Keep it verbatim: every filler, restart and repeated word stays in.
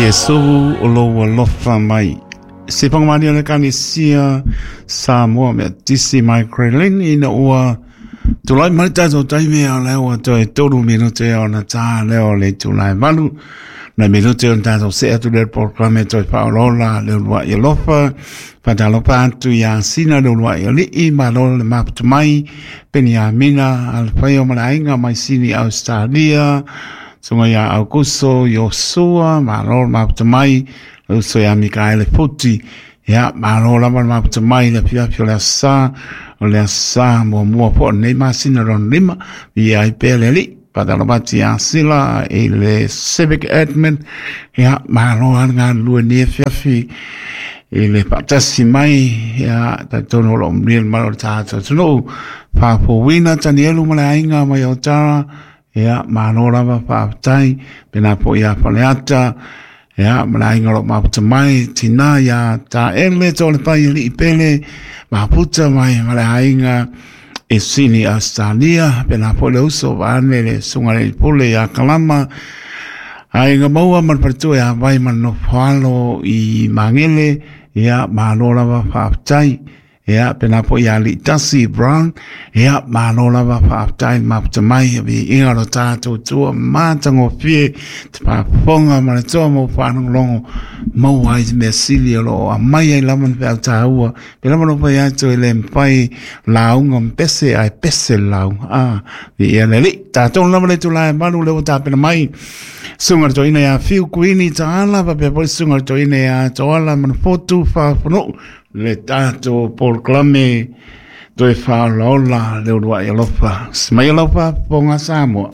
Iesu o lou alofa mai. Se pangamalia le kanisia Samoa mea tisi mai Krelin ina ua tulai mai tatou taimi o lea ua toe tolu minute ona tā lea o le itula e valu. Nai minute ona tatou see atu lea i le polokalame toe faaolaola le uluai alofa. Faatalofa atu iā Sina le uluai alii, malo le maputu mai, Peniamina, Alfaio ma le aiga mai Sini Australia, susuga ia Aukuso, Iosua, malo le maputu mai, le uso ia Mikaele Futi. Ia, malo lava le maputu mai le afiafi o le aso Sa, o le aso Sa muamua po o lenei masina lona lima, viia ai pea le Alii. Faatalofa atu ia Sila i le Civic Admin. Ia, malo lava le galulue i lenei afiafi i le faatasi mai. Ia, talitonu o lo o manuia le mamalu o le tatou atunuu. Faafouina Tanielu ma le aiga mai Otara. Ia, malo lava faafetai. Pena po ia Faleata. Ia, ma le aiga o lo o maputa mai. Tina ia Taele, tō le pai alii pele. Maputa mai ma le aiga e Sini Australia. Pena po le uso vaane le susuga i le pule ia Kalama. Aiga maua ma le faletua ia Vai ma le nofo i Magele. Ia, malo lava faafetai. Ia, pena po ia Liitasi Brown. Ia, malo lava faafetai maputa mai. Viiga o lo tatou Atua matagofie te faafofoga ma le toa mo faalogologo maua ai se mea sili o lo o aumai ai lava ni feau taua. Pe lava no fai atu e le mafai lauga ma pese ae pese le lauga. Ah, viia le Alii. Tatou lava le itula e valu lea ua tapena mai. Susuga i le toeaina ia Fiu Kuini Taala, faapea foi le susuga i le toeaina ia Toala Manufotu Faafonuu, le tatou polokalame toe faaolaola le uluai alofa. Smai lau faafofoga Samoa.